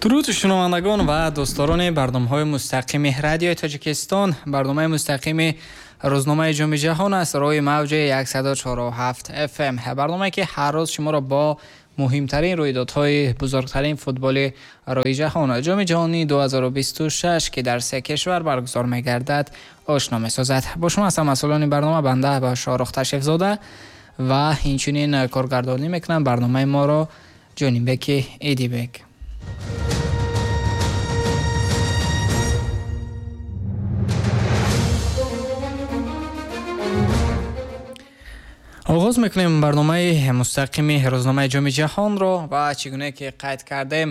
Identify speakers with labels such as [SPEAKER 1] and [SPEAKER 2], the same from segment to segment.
[SPEAKER 1] Дуруд шунавандагон ва дӯстдорони барномаҳои мустақими радиои Тоҷикистон. Барномаи мустақими рӯзномаи Ҷоми Ҷаҳон аст рӯи мавҷи 104.7 FM. Барномае ки ҳар рӯз шуморо бо муҳимтарин рӯйдодҳои бузургтарин футболи рӯи ҷаҳон, Ҷоми ҷаҳонии 2026, ки дар се кишвар баргузор мегардад, ошно месозад. Бо шумо ҳастам масъулони барнома, банда ба Шоҳрух Ташрифзода, ва инчунин коргардонӣ мекунам барномаи моро Ҷонибеки Идибек. Оғоз мекунем барномаи мустақими рӯзномаи Ҷоми Ҷаҳонро ва чӣ гуна ки қайд кардем,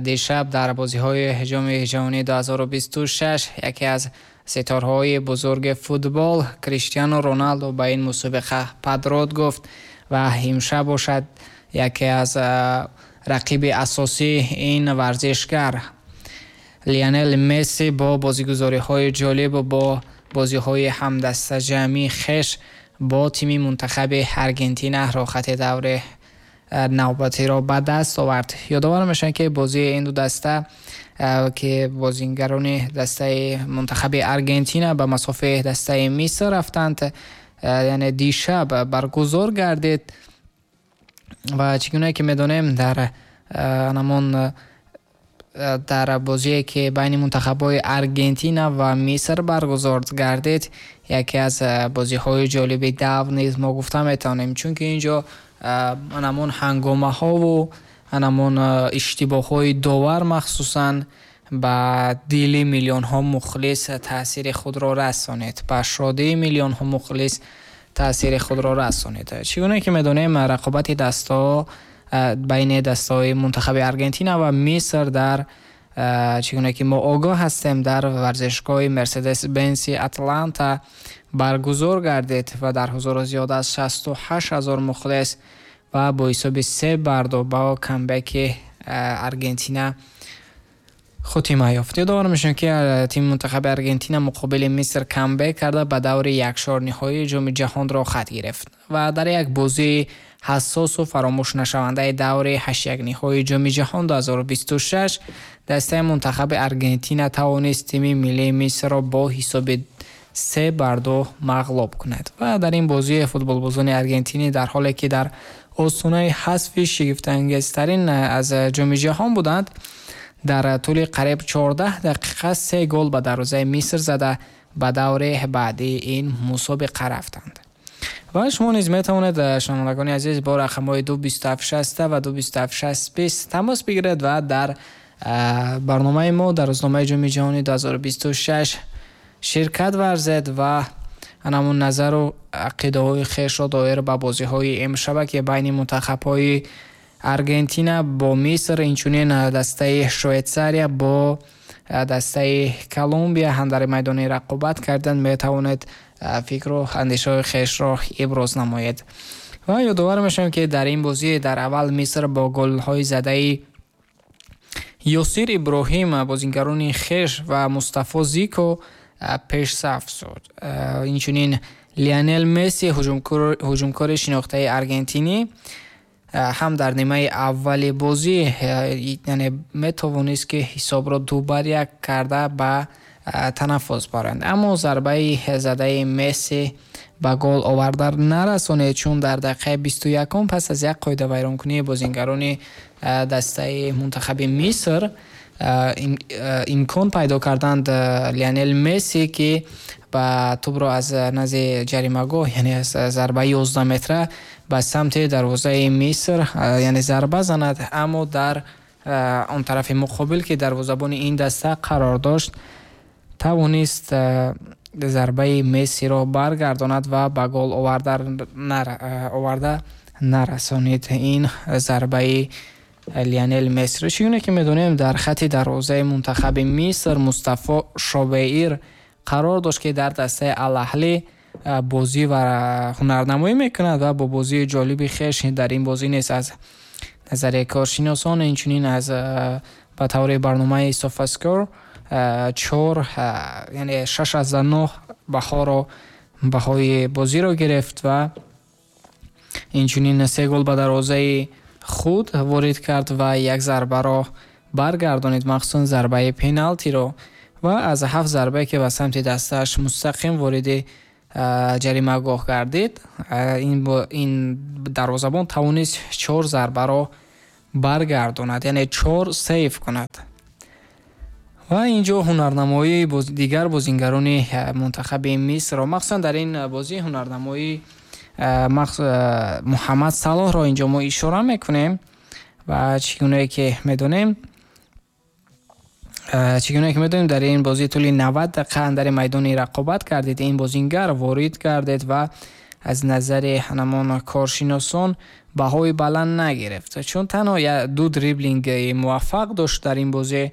[SPEAKER 1] дишаб дар бозиҳои Ҷоми ҷаҳонии 2026 яке аз ситорҳои бузурги футбол Криштиану Роналдо ба ин мусобиқа падрод гуфт ва имшаб бошад яке аз рақиби асосии ин варзишгар Лионел Месси бо бозигузориҳои ҷолиб, бо бозиҳои ҳамдастаҷамъии хеш бо тими мунтахаби Аргентина роҳхати даври навбатиро ба даст овард. Ёдовар мешавем, ки бозии ин ду даста, ки бозигарони дастаи мунтахаби Аргентина ба масофаи дастаи Миср рафтанд, яъне дишаб баргузор гардид ва чӣ гуна ки медонем, дар ҳамон дар бозие ки байни мунтахабҳои Аргентина ва Миср баргузор гардид, яке аз бозиҳои ҷолиби давр низ мо гуфта метавонем, чунки инҷо ҳамон ҳангомаҳову ҳамон иштибоҳҳои довар махсусан ба дили миллионҳо мухлис таъсири худро расонид, ба шодии миллионҳо мухлис таъсири худро расонид. Чӣ гуна ки медонем, рақобати дастаҳо байни дастаҳои мунтахаби Аргентина ва Миср дар, чӣ гуна ки мо огоҳ ҳастем, дар варзишгоҳи Мерседес Бенси Атланта баргузор гардид ва дар ҳузури зиёд аз 68 000 мухлис ва бо ҳисоби 3-2 бо камбеки Аргентина хотима ёфт. Ёдовар мешавем, ки тими мунтахаби Аргентина муқобили Миср камбек карда ба даври якшорниҳоии Ҷоми Ҷаҳон роҳхат гирифт ва дар як бозии ҳассосу фаромӯшнашавандаи даври ҳаштякниҳои Ҷоми Ҷаҳон 2026 дастаи мунтахаби Аргентина тавонист тими миллии Мисрро бо ҳисоби 3-2 мағлуб кунад. Ва дар ин бозии футболбозони аргентинӣ, дар ҳоле ки дар остонаи ҳазфи шигифтангезтарин аз Ҷоми Ҷаҳон буданд, дар тӯли қариб 14 дақиқа се гол ба дарвозаи Миср зада ба даври баъдии ин мусобиқа рафтанд. Ва шумо низ метавонед, шунавандагони азиз, бо рақамҳои 227 60 ва 227 60 20 тамос бигиред ва дар барномаи мо дар рӯзномаи Ҷоми ҷаҳони 2026 ширкат варзед ва ҳамон назару ақидаҳои хешро доир ба бозиҳои имшаба, ки байни мунтахабҳои Аргентина бо Миср, инчунин дастаи Швейтсария бо дастаи Колумбия ҳам дар майдони рақобат карданд, метавонед фикру андешаҳои хешро иброз намоед. Ва ёдовар мешавем, ки дар ин бозӣ дар аввал Миср бо голҳои задаи Ёсир Иброҳим, бозигарони хеш, ва Мустафо Зико пешсаф шуд. Инчунин Лионел Месси, ҳуҷумкори шинохтаи аргентинӣ, ҳам дар нимаи аввали бозӣ, яъне метавонист, ки ҳисобро 2-1 карда ба танаффус баранд, аммо зарбаи задаи Месси ба гол оварда нарасонед, чун дар дақиқаи 21-ум пас аз як қоидавайронкунии бозигарони дастаи мунтахаби Миср имкон пайдо карданд Лионел Месси, ки ба тӯбро аз назди ҷаримагоҳ, яъне аз зарбаи 11 метра ба самти дарвозаи Миср, яъне зарба занад, аммо дар он тарафи муқобил, ки дарвозабони ин даста қарор дошт, тавонист зарбаи Мессиро баргардонад ва ба гол оварда нарасонид ин зарбаи Лионел Мессиро. Чӣ гуна ки медонем, дар хати дарвозаи мунтахаби Миср Мустафо Шобеир қарор дошт, ки дар дастаи Ал-Аҳлӣ бозӣ ва ҳунарнамоӣ мекунад ва бо бозии ҷолиби хеш дар ин бозӣ низ аз назари коршиносон, инчунин аз ба таври барномаи Софаскор чор, яъне 6,9 баҳоро, баҳои бозиро гирифт ва инчунин се гол ба дарвозаи худ ворид кард ва як зарбаро Баргардонид, махсусан зарбаи пеналтиро, ва аз 7 зарбае, ки ба самти дастааш мустақим вориди ҷаримагоҳ гардид, ин дарвозабон тавонист 4 зарбаро баргардонад, яъне 4 сейв кунад. Ва инҷо ҳунарнамоии дигар бозингарони мунтахаби Мисрро, махсусан дар ин бозӣ ҳунарнамоии Муҳаммад Салоҳро инҷо мо ишора мекунем. Ва чӣ гунае ки медонем, дар ин бозӣ тӯли 90 дақиқа андари майдони рақобат кардед, ин бозингар ворид гардед ва аз назари ҳамон коршиносон баҳои баланд нагирифт, чун танҳо 2 дриблинги муваффақ дошт дар ин бозӣ,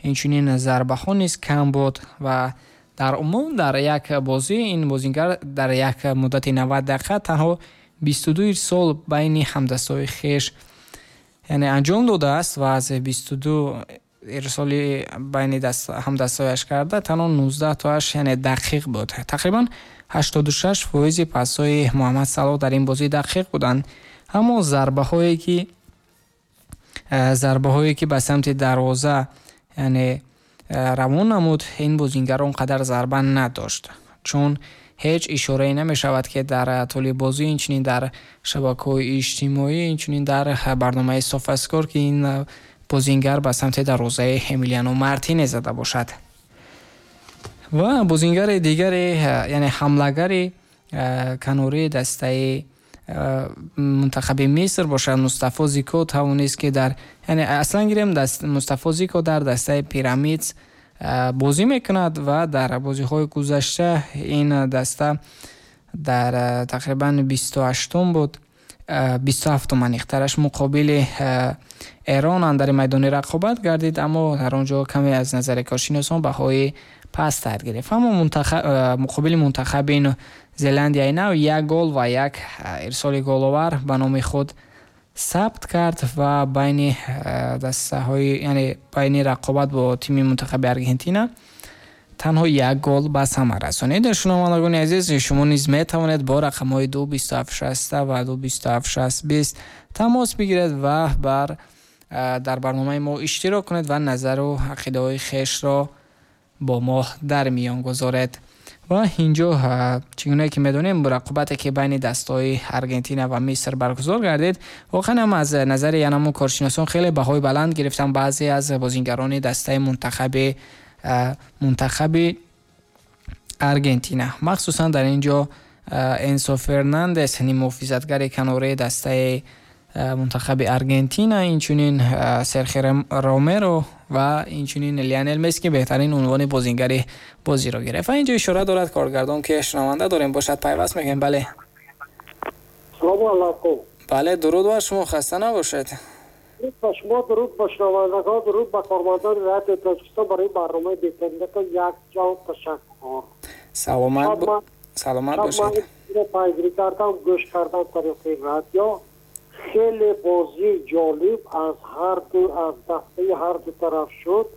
[SPEAKER 1] инчунин зарбаҳо низ кам буд ва дар умум дар як бозӣ ин бозингар дар як муддати 90 дақиқа танҳо 22 ирсол байни ҳамдастҳои хеш, яъне, анҷом додааст ва аз 22 ирсоли байни ҳамдастҳояш карда танҳо 19 тоаш, яъне, дақиқ буд. Тақрибан 86% пасҳои Муҳаммад Салоҳ дар ин бозӣ дақиқ буданд, аммо зарбаҳое ки ба самти дарвоза, яъне, равон намуд, ин бозингар он қадар зарба надошт, чун ҳеҷ ишорае намешавад, ки дар тӯли бозӣ, инчунин дар шабакаҳои иҷтимоӣ, инчунин дар барномаи Софаскор, ки ин бозингар ба самти дарвозаи Эмилиано Мартинес зада бошад. Ва бозингари дигаре, яъне ҳамлагари канории дастаи мунтахаби Миср бошад, Мустафо Зико тавонист, ки дар, яъне, аслан гирем, Мустафо Зико дар дастаи Пирамидс бозӣ мекунад ва дар бозиҳои гузашта ин даста дар тақрибан 28-ум буд, 27-ум аниқтараш, муқобили Эрон андари майдони рақобат гардид, аммо дар он ҷо каме аз назари коршиносон баҳои пасттар гирифт. Аммо муқобили мунтахаби Зеландияи Нав як гол ва як ирсоли головар ба номи худ сабт кард ва байни дастаҳои, яъне байни рақобат бо тими мунтахаби Аргентина танҳо як гол ба самар расонид. Шунавандагони азиз, шумо низ метавонед бо рақамҳои 2 27 60 ва 2 27 60 20 тамос бигиред ва дар барномаи мо иштирок кунед ва назару ақидаҳои хешро бо мо дар миён гузоред. Ва инҷо, чӣ гунае ки медонем, рақобате ки байни дастаҳои Аргентина ва Миср баргузор гардид, воқеан ҳам аз назари янамун коршиносон хеле баҳои баланд гирифтанд баъзе аз бозингарони дастаи мунтахаби Аргентина. Махсусан дар ин ҷо Энсо Фернандес, ниммуҳофизатгари канораи дастаи мунтахаби Аргентина, инчунин Серхио Ромеро ва инчунин Лионел Месси, ки беҳтарин унвони бозингари бозиро гирифт. Ва инҷо ишора дорад коргардон, ки шунаванда дорем, бошад, пайваст мекунем. Бале.
[SPEAKER 2] Салому алайкум.
[SPEAKER 1] Бале, дуруд бар шумо, хаста набошед.
[SPEAKER 2] Дуруд ба шумо, дуруд ба шунавандагон, дуруд ба кормандони Радиои Тоҷикистон. Барои барномаи беҳтаринатон як ҷон ташаккур.
[SPEAKER 1] Саломат бошед.
[SPEAKER 2] Пайгирӣ кардам, гӯш кардам тариқи радио. Хеле бозии ҷолиб аз ҳарду, аз дастаи ҳарду тараф шуд,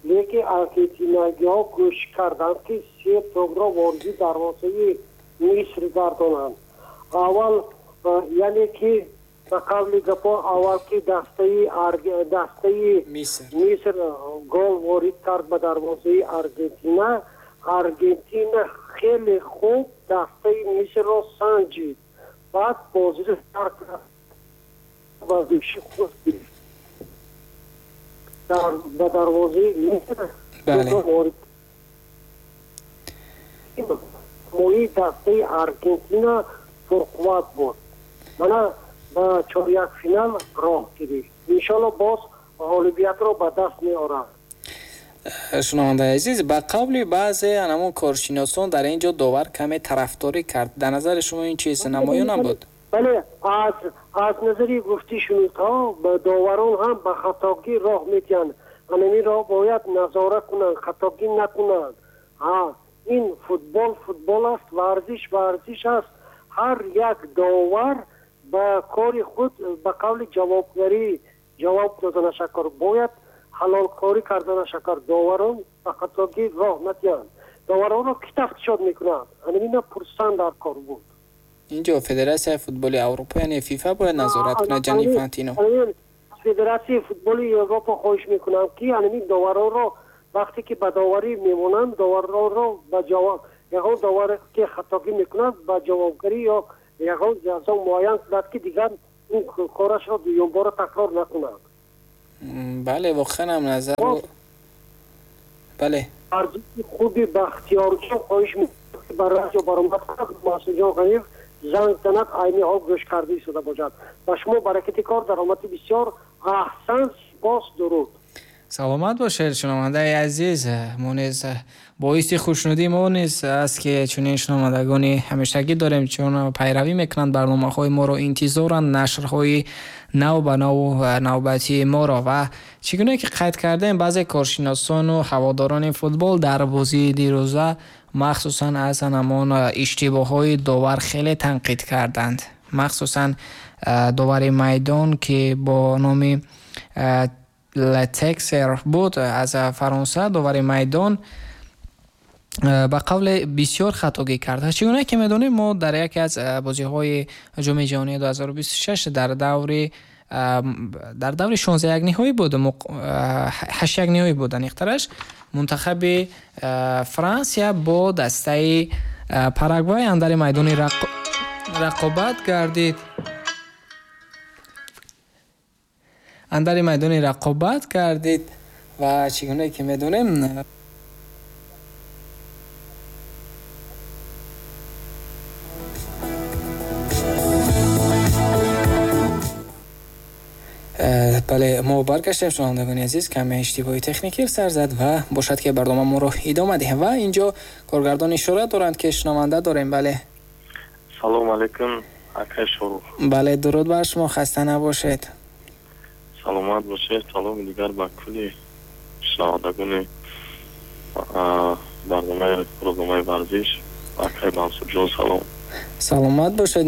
[SPEAKER 2] лекин аргентинагиҳо кӯшиш карданд, ки се тӯбро вориди дарвозаи Миср гардонанд. Аввал, яъне ки ба қавли гапо, аввал ки дастаи Миср гол ворид кард ба дарвозаи Аргентина, Аргентина хеле хуб дастаи Мисрро санҷид, баъд бозиро сар кард, варзиши худ ба дарвозаи Миср ворид мои дастаи Аргентина пурқувват буд. Мана ба чорякфинал роҳ гирифт, иншолло боз ғолибиятро ба даст меорад.
[SPEAKER 1] Шунавандаи азиз, ба қавли баъзе анамон коршиносон, дар ин ҷо довар каме тарафдорӣ кард. Дар назари шумо ин чиз намоён набуд?
[SPEAKER 2] Бале, аз назари гуфти шунидҳо, доварон ҳам ба хатогӣ роҳ медиҳанд. Анаминро бояд назора кунанд, хатогӣ накунанд. Ҳа, ин футбол футбол аст, варзиш варзиш аст. Ҳар як довар ба кори худ, ба қавли ҷавобгарӣ ҷавоб доданашакор, бояд ҳалолкорӣ карданашакор. Доварон ба хатогӣ роҳ надиҳанд. Доваронро ки тафтишот мекунад? Анамина пурсан дар кор буд.
[SPEAKER 1] Инҷо Федератсияи футболи Аврупо, яъне ФИФА, бояд назорат кунад, Ҷани Инфантино.
[SPEAKER 2] Федератсияи футболи Европа хоҳиш мекунам, ки ҳамин доваронро вақте ки ба доварӣ мемонанд, доваронро ба ҷавоб, ягон довар ки хатогӣ мекунад, ба ҷавобгарӣ ё ягон ҷазо муайян кунад, ки дигар ин корашро дуюмбора такрор накунад.
[SPEAKER 1] Бале, воқеан ҳам назар, бале.
[SPEAKER 2] Арзиши хуби Бахтиёрҷон хоҳиш мекунам, ки ба радио баромад кунад, Масудҷон Ғаниев занг занад, айни ҳол гӯш карда истода бошад. Ба шумо баракати кор, даромади бисёр, аҳсан, сипос, дуруд.
[SPEAKER 1] Саломат бошед, шунавандаи азиз. Мо низ боиси хушнудии мо низ аст, ки чунин шунавандагони ҳамешагӣ дорем, чун пайравӣ мекунанд барномаҳои моро, интизоранд нашрҳои нав ба наву навбатии моро. Ва чӣ гуна ки қайд кардем, баъзе коршиносону ҳаводорони футбол дар бозии дирӯза махсусан аз ҳамон иштибоҳҳои довар хеле танқид карданд, махсусан довари майдон, ки бо номи Летексер буд аз Фаронса. Довари майдон ба қавле бисёр хатогӣ кард. Чӣ гуна ки медонем, мо дар яке аз бозиҳои Ҷоми ҷаҳонии 2026 дар даври 16 ниҳоӣ буд, 8 ниҳоӣ буд аниқтараш, мунтахаби Франсия бо дастаи Парагвай андари майдони рақобат гардид, андари майдони рақобат гардид. Ва чӣ гуна ки медонем, бале, мо баргаштем, шунавандагони азиз. Каме иштибоҳи техникӣ сар зад ва бошад, ки барнома моро идома диҳем. Ва инҷо коргардон ишора доранд, ки шунаванда дорем. Бале.
[SPEAKER 3] Салому алайкум, акай Шорух.
[SPEAKER 1] Бале, дуруд бар шумо, хаста набошед.
[SPEAKER 3] Саломат бошед. Саломи дигар ба кулли шунавандагони барномаи рӯзномаи варзиш. Акай Мансурҷон, салом.
[SPEAKER 1] Саломат бошед.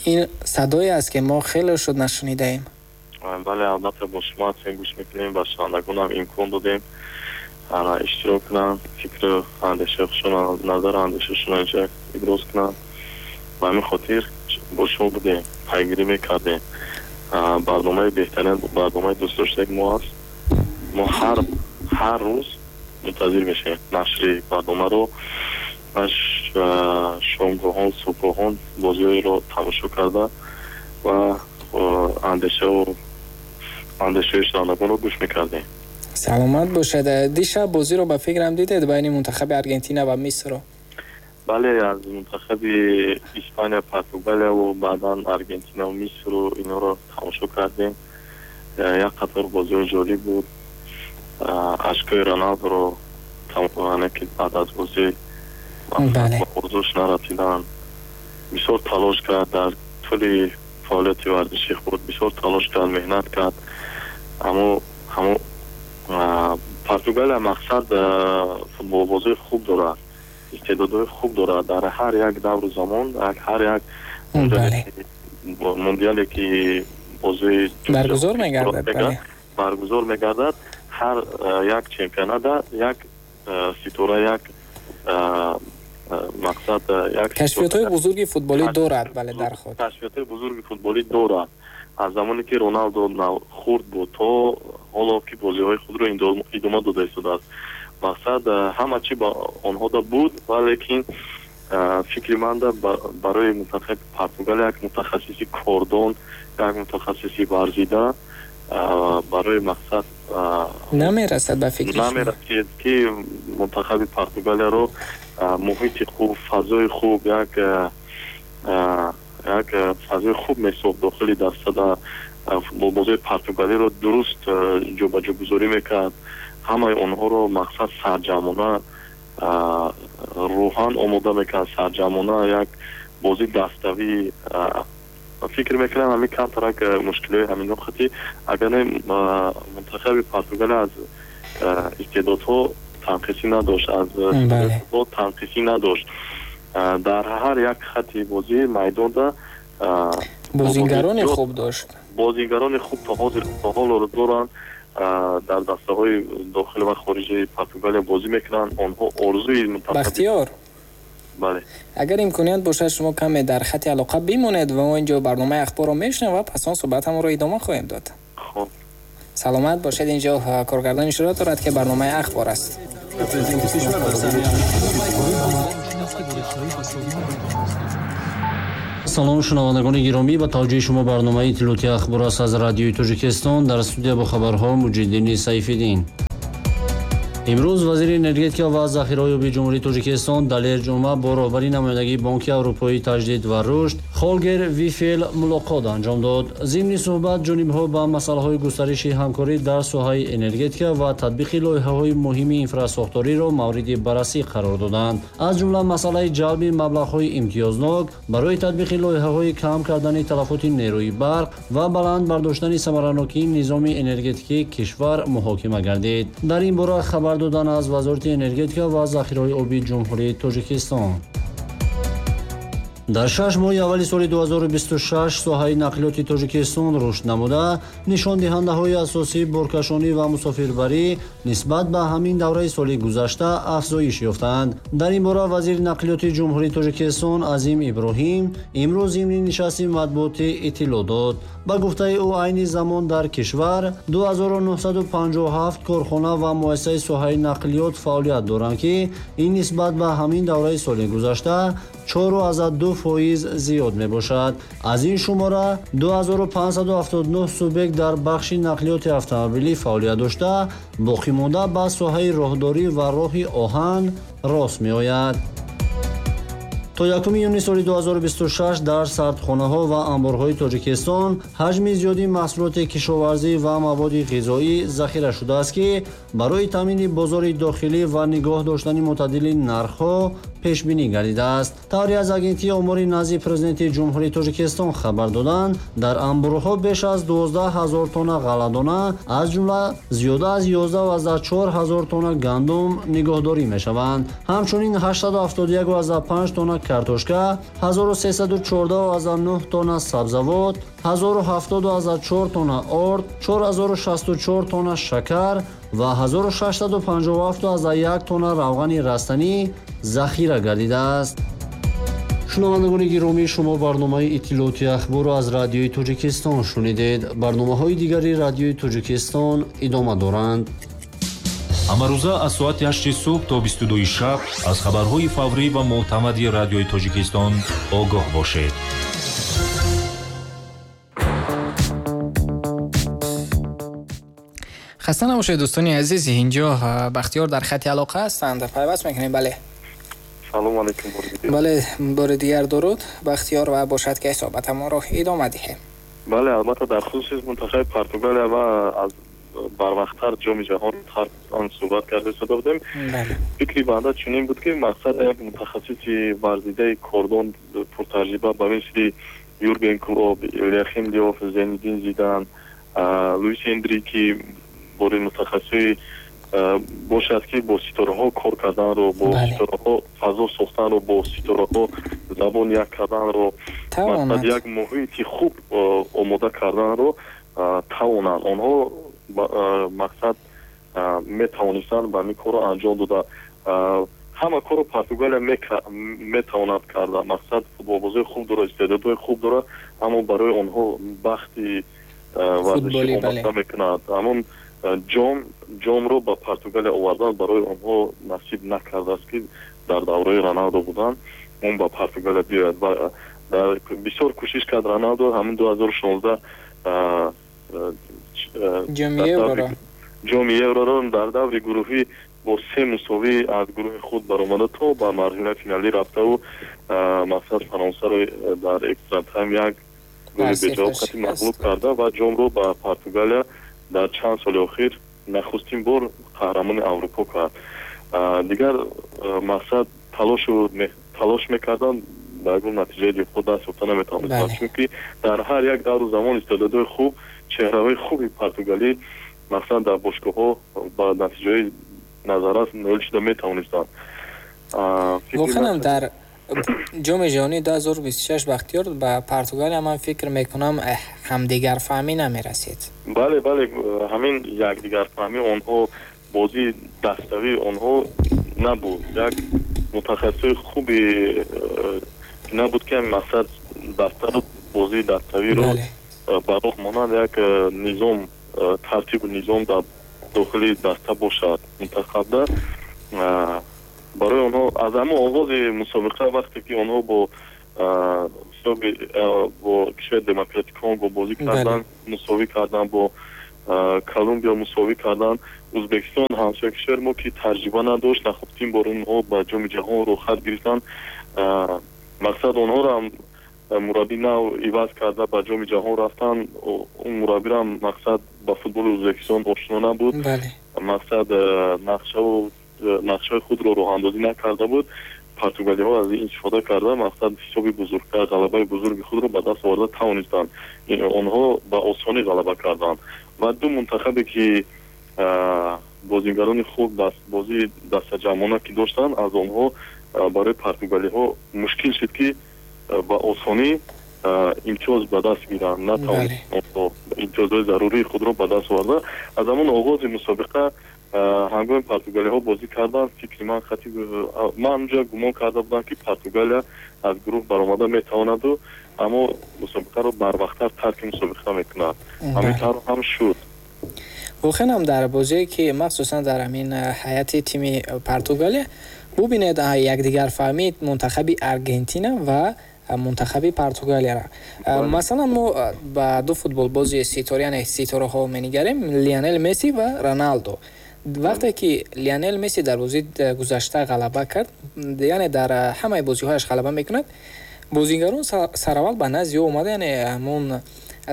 [SPEAKER 1] Ин садое аст, ки мо хеле шуд нашунидаем.
[SPEAKER 3] Бале, албатта, бо шумо ҳастем, гӯш мекунем. Ба шунавандагонам имкон додем иштирок кунанд, фикру андешаи худшон, назару андешашонро инҷа иброз кунанд. Ба ҳамин хотир бо шумо будем, пайгирӣ мекардем. Барномаи беҳтарин, барномаи дӯстдоштаи мо аст. Мо ҳар рӯз мунтазир мешавем нашри барномаро ва шомгоҳон, субҳгоҳон бозиҳоеро тамошо карда ва андешау андешаи шунавандагонро гӯш мекардем.
[SPEAKER 1] Саломат бошед. Дишаб бозиро ба фикрам дидед байни мунтахаби Аргентина ва Мисрро?
[SPEAKER 3] Бале, аз мунтахаби Испания, Португалияву баъдан Аргентинаву Мисру инҳоро тамошо кардем. Як қатор бозиҳои ҷолиб буд. Ашкои Роналдоро, ки баъд аз бозӣ ба орзуш нарасиданд. Бисёр талош кард дар тӯли фаъолияти варзишии худ, бисёр талош кард, меҳнат кард, аммо ҳамо Португалия, мақсад, футболбозии хуб дорад, истеъдодҳои хуб дорад. Дар ҳар як давру замон, ҳар як мундиале ки бозии
[SPEAKER 1] баргузор мегардад.
[SPEAKER 3] Баргузор мегардад, ҳар як чемпионата як ситора, як мақсад, як
[SPEAKER 1] Кашфиётҳои бузурги футболӣ дорад, бале, дар худ.
[SPEAKER 3] Кашфиётҳои бузурги футболӣ дорад. Аз замоне ки Роналдо хурд буд то ҳоло ки бозиҳои худро идома дода истодааст, мақсад, ҳама чи ба онҳода буд. Валекин фикри манда, барои мунтахаби Португалия як мутахассиси кордон, як мутахассиси варзида барои мақсад
[SPEAKER 1] намерасад ба фикри.
[SPEAKER 3] Намерасид, ки мунтахаби Португалияро муҳити хуб, фазои хуб, як фазои хуб месохт дохили дастада. Футболбозои португалиро дуруст ҷобаҷогузорӣ мекард, ҳамаи онҳоро, мақсад, сарҷамъона рӯҳан омода мекард, сарҷамъона як бозии даставӣ. Фикр мекунам, ҳамин камтарак мушкилиҳои ҳамино хати, агар не, мунтахаби Португалия аз истеъдодҳо танқисӣ надошт, аз танқисӣ надошт. Дар ҳар як хати бозии майдонда
[SPEAKER 1] бозигарони хуб дошт.
[SPEAKER 3] Бозигарони хуб то ҳозир, то ҳолоро доранд. Дар дастаҳои дохили ва хориҷи Португалия бозӣ мекунанд. Онҳо орзуи
[SPEAKER 1] Бахтиёр.
[SPEAKER 3] Бале.
[SPEAKER 1] Агар имконият бошад, шумо каме дар хати алоқа бимонед ва мо инҷо барномаи ахборро мешунавем ва пас он суҳбатамонро идома хоҳем дод.
[SPEAKER 3] Хоб.
[SPEAKER 1] Саломат бошед. Инҷо коргардон ишора дорад, ки барномаи ахбор аст.
[SPEAKER 4] Салом, шунавандагони гиромӣ, ба таваҷҷӯҳи шумо барномаи иттилоотии ахбор аст аз Радиои Тоҷикистон. Дар студия бо хабарҳо Муҷиддини Сайфиддин. Имрӯз вазири энергетика ва захираҳои оби Ҷумҳурии Тоҷикистон Далер Ҷума бо роҳбари намояндагии Бонки Аврупоии таҷдид ва рушд Холгер Вифел мулоқот анҷом дод. Зимни суҳбат ҷонибҳо ба масъалаҳои густариши ҳамкорӣ дар соҳаи энергетика ва татбиқи лоиҳаҳои муҳими инфрасохториро мавриди баррасӣ қарор доданд. Аз ҷумла масъалаи ҷалби маблағҳои имтиёзнок барои татбиқи лоиҳаҳои кам кардани талафоти нерӯи барқ ва баланд бардоштани самаранокии низоми энергетикии кишвар муҳокима гардид. Дар ин бора хабар додан аз Вазорати энергетика ва захираҳои оби Ҷумҳурии Тоҷикистон. Дар 6 моҳи аввали соли 2026 соҳаи нақлиёти Тоҷикистон рушд намуда, нишондиҳандаҳои асосии боркашонӣ ва мусофирбарӣ нисбат ба ҳамин давраи соли гузашта афзоиш ёфтанд. Дар ин бора вазири нақлиёти Ҷумҳурии Тоҷикистон Азим Иброҳим имрӯз зимни нишасти матбуотӣ иттилоъ дод. Ба гуфтаи ӯ, айни замон дар кишвар 2957 корхона ва муассисаи соҳаи нақлиёт фаъолият доранд, ки ин нисбат ба ҳамин давраи соли гузашта 4,2% зиёд мебошад. Аз ин шумора 2579 субъект дар бахши нақлиёти автомобилӣ фаъолият дошта, боқӣ монда ба соҳаи роҳдорӣ ва роҳи оҳан рост меояд. То 1 июни соли 2026 дар сардхонаҳо ва анборҳои Тоҷикистон ҳаҷми зиёди маҳсулоти кишоварзӣ ва маводи ғизоӣ захира шудааст, ки барои таъмини бозори дохилӣ ва нигоҳ доштани мӯътадили нархҳо пешбинӣ гардидааст. Тавре аз агентии омори назди президенти Ҷумҳурии Тоҷикистон хабар доданд, дар анборҳо беш аз 12 ҳазор тонна ғалладона, аз ҷумла зиёда аз 11,4 ҳазор тонна гандум нигоҳдорӣ мешаванд. Ҳамчунин 871,5 тонна картошка, 1314,9 тонна сабзавот, 1070,4 тонна орд, 4064 тонна шакар ва 1657,1 тонна равғани растанӣ захира гардидааст. Шунавандагони гиромӣ, шумо барномаи иттилооти ахборро аз Радиои Тоҷикистон шунидед. Барномаҳои дигари Радиои Тоҷикистон идома доранд.
[SPEAKER 5] Ҳамарӯза аз соати 8 субҳ то 22 шаб аз хабарҳои фаврӣ ва мӯътамади Радиои Тоҷикистон огоҳ бошед.
[SPEAKER 1] Хаста набошед, дӯстони азиз. Инҷо Бахтиёр дар хати алоқа ҳастанд. Пайваст мекунем. Бале.
[SPEAKER 3] Салом алейкум.
[SPEAKER 1] Бале, бори дигар дуруд Бахтиёр, ва бошад ки суҳбатамонро идома диҳем.
[SPEAKER 3] Бале, албатта дар хусуси мунтахаби Португалия ва аз барвақттар ҷоми ҷаҳон он суҳбат карда истода будем. Фикри банда чунин буд, ки мақсад як мутахассиси варзидаи кордон пуртаҷриба ба мисли Юрген Клоп, Йоахим Лёв, Зинедин Зидан, Луис Энрики бори мутахассиси бошад, ки бо ситораҳо кор карданро, бо ситораҳо фазо сохтанро, бо ситораҳо забон як карданро, мақсад як муҳити хуб омода карданро тавонанд. Онҳо мақсад метавонистанд ба ин корро анҷом дода. Ҳама корро Португалия метавонад карда. Мақсад футболбозои хуб дорад, истеъдодҳои хуб дорад, аммо барои онҳо бахти варзишӣ омода мекунад. Ҳамон ҷомро ба Португалия овардан барои онҳо насиб накардааст, ки дар давраи Роналдо буданд, он ба Португалия биёяд. Ва бисёр кӯшиш кард Роналдо ҳамин 2016 ҷоми Евроро дар даври гурӯҳӣ бо 3 мусовӣ аз гурӯҳи худ баромада то ба марҳилаи финалӣ рафтаву мақсад Фаронсаро дар экстра тайм як голи беҷавоб қатъи мағлуб карда ва ҷомро ба Португалия дар чанд соли охир нахустин бор қаҳрамони Аврупо кард. Дигар мақсад талош мекарданд, ба ягон натиҷаи дилхоҳ даст ёфта наметавонистанд, чунки дар ҳар як давру замон истеъдодҳои хуб, чеҳраҳои хуби португалӣ мақсад дар бошгоҳҳо ба натиҷаҳои назаррас ноил шуда метавонистанд.
[SPEAKER 1] Воқеан дар ҷоми ҷаҳонии 2026 Бахтиёр ба Португалия ман фикр мекунам ҳамдигарфаҳмӣ намерасид.
[SPEAKER 3] Бале, бале, ҳамин якдигарфаҳмӣ онҳо, бозии даставии онҳо набуд. Як мутахассиси хуби набуд, ки мақсад дастаро, бозии даставиро ба роҳ монанд, як низом Тартибу низом дар дохили даста бошад мунтахабда. Барои онҳо аз ҳамон оғози мусобиқа, вақте ки онҳо бо кишвари Демократии Конго бозӣ карданд, мусовӣ карданд, бо Колумбия мусовӣ карданд, Ӯзбекистон, ҳамсоя кишвари мо, ки таҷриба надошт, нахустин бор онҳо ба Ҷоми Ҷаҳон рӯхат гирифтанд. Мақсад, онҳоро ҳам мураббӣ нав иваз карда ба Ҷоми Ҷаҳон рафтанд. Он мураббирам, мақсад, ба футболи Ӯзбекистон ошно набуд, мақсад, нақшаву нақшаи худро роҳандозӣ накарда буд. Португалиҳо аз ин истифода карда, мақсад, ҳисоби бузургтар, ғалабаи бузурги худро ба даст оварда тавонистанд. Онҳо ба осонӣ ғалаба карданд. Ва ду мунтахабе ки бозигарони хуб, бозии дастаҷамъона ки доштанд, аз онҳо барои португалиҳо мушкил шуд, ки ба осонӣ имтиёз ба даст гиранд. Натавонистанд имтиёзҳои зарурии худро ба даст оварда. Аз ҳамон оғози мусобиқа, ҳангоми португалиҳо бозӣ карданд, фикри ман хати ман онҷа гумон карда будам, ки Португалия аз гурӯҳ баромада метавонаду, аммо мусобиқаро барвақттар тарки мусобиқа мекунад. Ҳамин тавр ҳам шуд.
[SPEAKER 1] Воқеан ҳам, дар бозие ки махсусан дар ҳамин ҳайати тими Португалия бубинед, якдигарфаҳмии мунтахаби Аргентина ва мунтахаби Португалияра. Масалан, мо ба ду футболбози ситора, яъне ситораҳо менигарем, Лионел Месси ва Роналдо. Вақте ки Лионел Месси дар бозии гузашта ғалаба кард, яъне дар ҳамаи бозиҳояш ғалаба мекунад, бозигарон сараввал ба назди ӯ омада, яъне ҳамон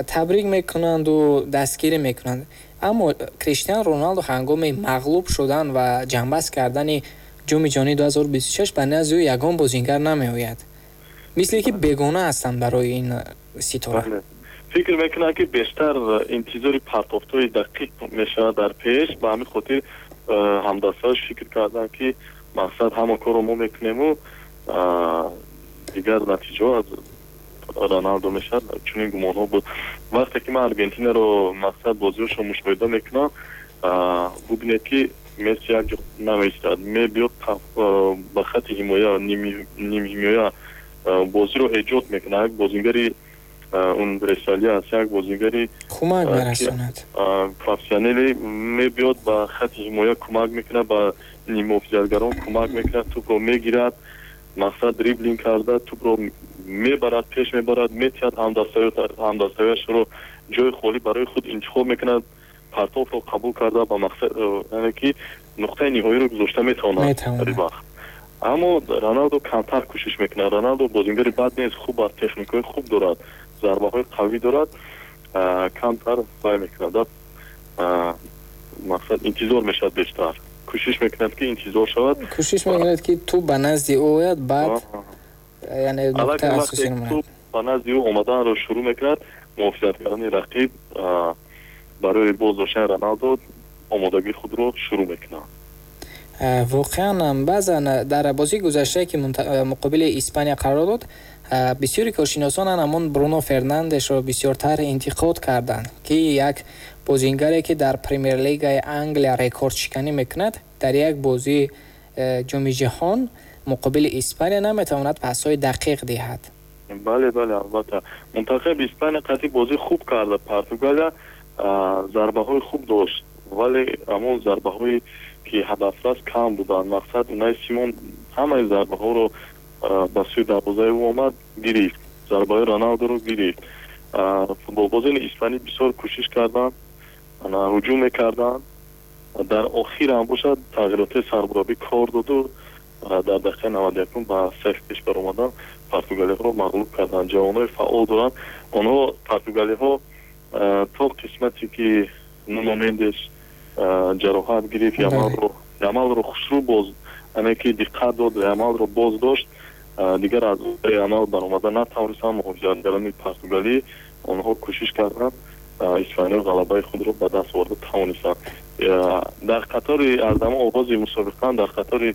[SPEAKER 1] табрик мекунанду дастгирӣ мекунанд. Аммо Криштиану Роналдо ҳангоми мағлуб шудан ва ҷамъбаст кардани Ҷоми Ҷаҳонии 2026 ба назди ӯ ягон бозингар намеояд, мисле ки бегона ҳастанд барои ин ситора.
[SPEAKER 3] Фикр мекунам, ки бештар интизори партофтҳои дақиқ мешавад дар пеш. Ба ҳамин хотир ҳамдастааш фикр карданд, ки мақсад, ҳама корро мо мекунему, дигар натиҷаҳо аз Роналдо мешавад. Чунин гумонҳо буд. Вақте ки ман Аргентинаро, мақсад, бозиҳошро мушоҳида мекунам, бубинед, ки Месси як ҷо намеистад, мебиёд ба хати ҳимоя, нимҳимоя, бозиро эҷод мекунад. Як бозингари универсалӣ аст, як бозингари
[SPEAKER 1] кӯмак мерасонад.
[SPEAKER 3] Профессионале мебиёд, ба хати ҳимоя кӯмак мекунад, ба ниммуҳофизатгарон кӯмак мекунад, тӯпро мегирад, мақсад, дриблинг карда тӯпро мебарад, пеш мебарад, метиҳад ҳамдастаёшро, ҷои холӣ барои худ интихоб мекунад, партофро қабул карда ба мақсад, яъне ки нуқтаи ниҳоиро гузошта метавонад дар вақт. Аммо Роналдо камтар кӯшиш мекунад. Роналдо бозингари бад нест, хуб аст, техникаҳои хуб дорад, зарбаҳои қавӣ дорад, камтар вай мекунад, мақсад, интизор мешавад, бештар кӯшиш мекунад, ки интизор шавад.
[SPEAKER 1] Кӯшиш мекунад, ки тӯп ба назди ӯ ояд, баъд яъне нуқтаи асосӣ.
[SPEAKER 3] Тӯп ба назди ӯ омаданро шурӯъ мекунад, муҳофизатгарони рақиб барои боз доштани Роналдо омодагии худро шурӯъ мекунанд.
[SPEAKER 1] Воқеан, баъзан дар бозии гузаштае, ки муқобили Испания қарор дод, бисёри коршиносон ҳамон Бруно Фернандешро бисёртар интиқод карданд, ки як бозингаре, ки дар Премер-лигаи Англия рекордшиканӣ мекунад, дар як бозии Ҷоми Ҷаҳон муқобили Испания наметавонад пасҳои дақиқ диҳад.
[SPEAKER 3] Бале, албатта, мунтахаби Испания қатъи бозӣ хуб карда. Португалия зарбаҳои хуб дошт, вале ҳамон зарбаҳое ки ҳадафрас кам буданд. Мақсад, Унай Симон ҳамаи зарбаҳоро ба сӯи дарвозаи ӯ омад, гирифт, зарбаҳои Роналдоро гирифт. Футболбозони испанӣ бисёр кӯшиш карданд, ҳуҷум мекарданд. Дар охир ҳам бошад, тағйиротҳои сармураббӣ кор доду, дар дақиқаи 91-ум ба саф пеш баромаданд, португалиҳоро мағлуб карданд. Ҷавонҳои фаъол доранд онҳо, португалиҳо. То қисмате ки Нуно Мендеш ҷароҳат гирифт, Ямалро хушрӯ боз, яъне ки диққат дод, Ямалро боз дошт, дигар аз Ямал баромада натавонистанд муҳофизатгарони португалӣ. Онҳо кӯшиш карданд, испаниё ғалабаи худро ба даст оварда тавонистанд. Дар қатори аз ҳамон оғози мусобиқа, дар қатори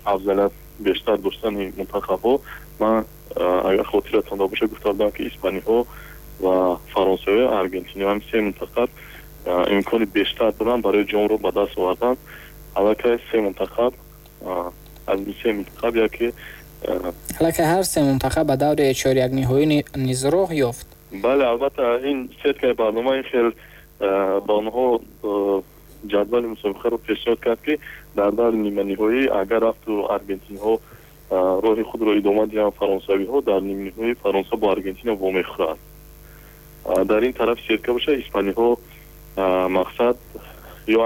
[SPEAKER 3] афзалият бештар доштани мунтахабҳо, ман, агар хотиратон бошад, гуфта будам, ки испаниҳо ва фаронсавиҳо, аргентиниҳо, ҳам се мунтахаб имкони бештар доранд барои ҷомро ба даст овардан. Аллакай се мунтахаб, аз ин се мунтахаб яке
[SPEAKER 1] Аллакай ҳар се мунтахаб ба даври чорякниҳоӣ низ роҳ ёфт.
[SPEAKER 3] Бале, албатта, ин сеткаи барнома ин хел ба онҳо ҷадвали мусобиқаро пешниҳод кард, ки дар даври ниманиҳоӣ агар рафту аргентинҳо роҳи худро идома диҳанд, фаронсавиҳо дар нимниҳои Фаронса бо Аргентина вомехӯранд. Дар ин тарафи сетка боша, испаниҳо мақсад ё